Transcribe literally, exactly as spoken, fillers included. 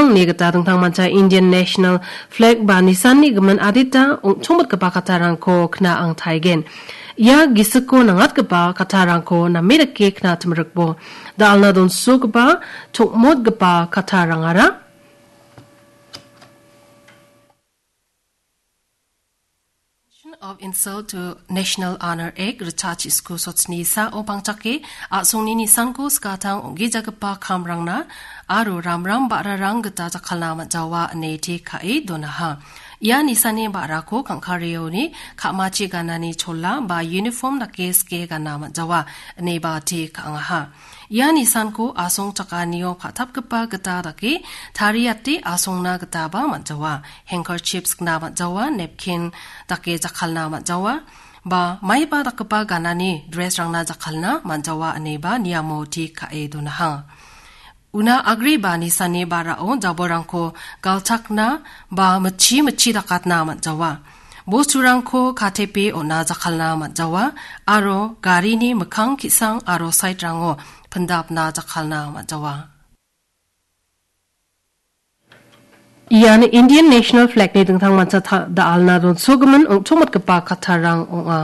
Ine gita dingtangmancha Indian National Flag ba nisanni gimin adita ong·chongmotgipa kattarangko kna·angtaigen. Ia gisiko nangatgipa kattarangko name dake kna·atimrikbo. Da·alna donsogipa chongmotgipa kattarangara Mention of Insult to National Honor Act, Richard Isku sotsni sao pangchake, a·songni nisanko skatang ong·gijagipa kamrangna aro ramram ba·rarang gita jakkalna man·jawa ine te ka·e donaha. Ia nisani ba·rako kangkareoni ka·machi ganani chola ba uniform dake sike gana man·jawa ineba te ka·angaha. Ia nisanko asong chakanio pa·tapgipa gita dake tariate asongna gitaba man·jawa. Handkerchief sikna man·jawa, napkin dake jakkalna man·jawa, ba maiba dakgipa ganani dress-rangna jakkalna man·jawa ineba niamo te ka·e donaha. Una agreba nisani ba·rao jabolrangko galchakna ba mitchi mitchi dakatna man·jawa. Bosturangko katepe on·a jakkalna man·jawa aro garini mikkang ki·sang aro side-rango pindapna jakkalna man·jawa. Ian Indian National Flag-ni dingtangmancha ta-, da·alna donsogimin ong·chongmotgipa kattarang ong·a.